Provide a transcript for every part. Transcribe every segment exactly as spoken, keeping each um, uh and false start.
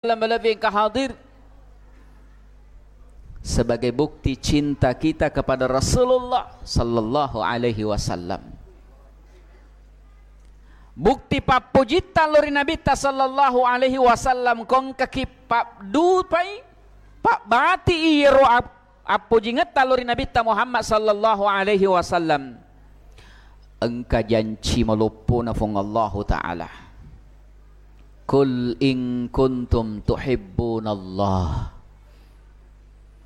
Lebih-lebih engka hadir sebagai bukti cinta kita kepada Rasulullah sallallahu alaihi wasallam. Bukti pappujitta lao ri Nabitta sallallahu alaihi wasallam, ko engkaki pabdupai, pabbati iyaro ap-, appojingetta lao ri Nabitta Muhammad sallallahu alaihi wasallam, engka janci maloppona Puang Allahu Ta'ala. "Qul in kuntum tuhibbunallah."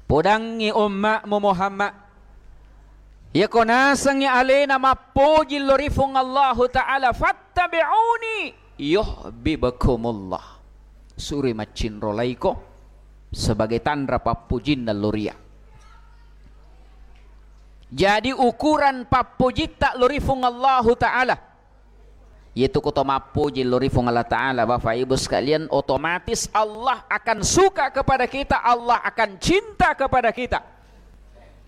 Podangngi umma'mu Muhammad, iyako nasengngi alena mappoji lao ri Puang Allahu Ta'ala, "fattabi'uni yuhibbukumullah." Suroi maccinrolaiko sebagai tanra pappojinna lao ri iyya. Jadi, ukuran pappojitta lao ri Puang Allahu Ta'ala, iyatu ko to mappoji lao ri Puang Allah Ta'ala, Bapak Ibu sekalian, otomatis Allah akan suka kepada kita, Allah akan cinta kepada kita.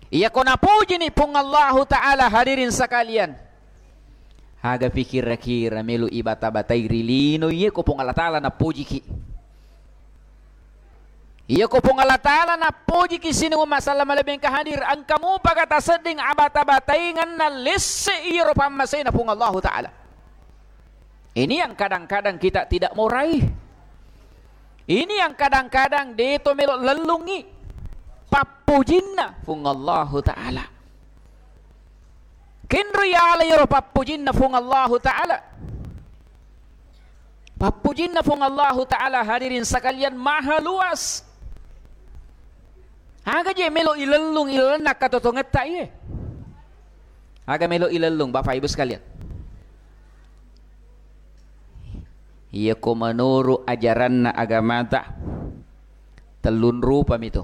Iyako napojini Puang Allahu Ta'ala, hadirin sekalian, aga pikira-kira melo ibata-batai ri lino iyako Puang Allah Ta'ala napojiki. Iyako Puang Allah Ta'ala nappojiki sining umma sallama lebbi engka hadir, engka mupaga tasedding abata-bataingenna lesse iyaro pammasena Puang Allahu Ta'ala. Ini yang kadang-kadang kita tidak mau raih. Ini yang kadang-kadang deto melo lellungi pappojinna Puang Allahu Ta'ala. Kenro yala iyaro pappojinna Puang Allahu Ta'ala. Pappojinna Puang Allahu Ta'ala, hadirin sekalian, maha luas. Aga je melo ilellung ilalenna katotongetta iye? Aga melo ilellung, Bapak Ibu sekalian? Iyako menurut ajaranna agamata, tellun rupami tu.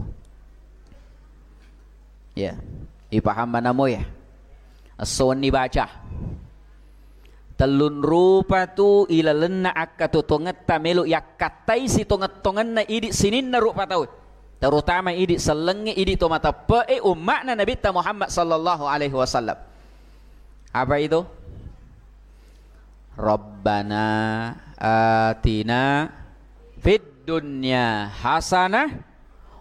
Ya, ipaham manamo ya? Esso wenni baca. Tellun rupa tu ilalenna akkatotongetta melo yakkattai sitongeng-tongenna idi sininna rupa tau. Terutama idi sellengnge, idi to mateppe'e, umma'na Nabitta Muhammad sallallahu alaihi wasallam. Apa itu? Rabbana atina fid dunya hasanah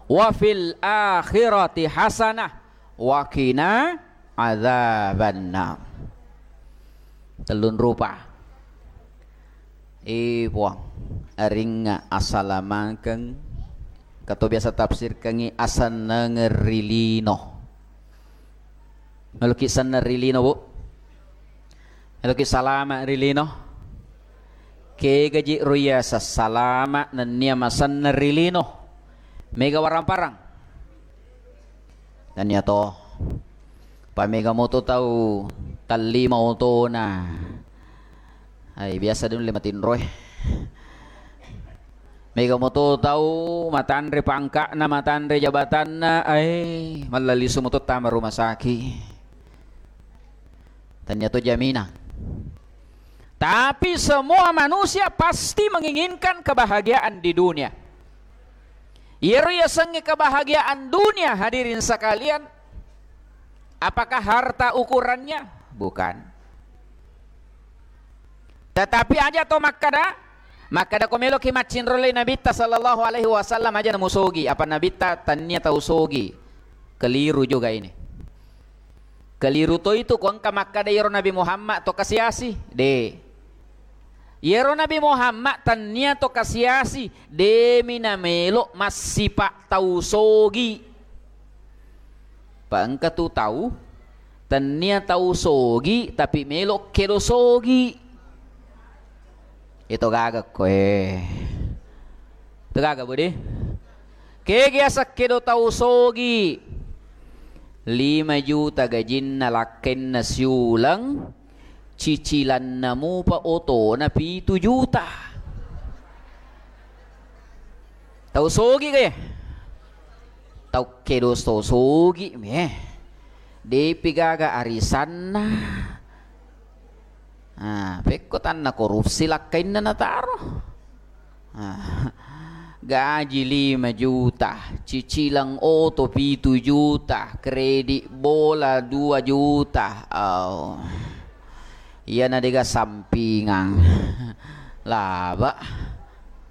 wa fil akhirati hasanah wa qina adzabannar. Tellun rupa. Eh, Puang, aringnga asalamakeng, kato biasa tafsirkengngi asennengeng ri lino. Meloki senneng ri lino, Bu? Meloki salama ri lino? Kegaji ro iya sassalama nennia masenneng ri lino? Mega warang-parang? Nennia to. Pamega moto tau tallima otona. Ai, biasa dulu lima tinroe. Mega moto tau matanre pangka'na, matanre jabatanna, ai, malla lisu moto tama rumah sakit. Tania to jaminan. Tapi semua manusia pasti menginginkan kebahagiaan di dunia. Iyaro yasengnge kebahagiaan dunia, hadirin sekalian, apakah harta ukurannya? Bukan. Tetapi aja to makkada, makkada ko meloki maccinrolai Nabitta sallallahu alaihi wasallam aja namusogi, apa Nabitta tania tau sogi. Keliru juga ini. Keliru to itu ko engka makkada iyaro Nabi Muhammad to kasiasi. De. Iyaro Nabi Muhammad tania to kasiasi, demi namelo massipa tau sogi. Pa engka tu tau, tania tau sogi, tapi melo kedo sogi. Itu gaga koe. Itu gaga, Budi. Kegi asakkedo tau sogi. Lima juta gajinna lakkenna siuleng, cicilanna mupa otona pitu juta. Tau sogi ke? Tau kedo tau sogi mi, eh. Depi gaga arisanna. Ah, pekko tanna korupsi lakkainna nataro. Ah, gaji lima juta, cicilang oto pitu juta, kredit bola dua juta. Oh. Iyana dega sampingang. Laba.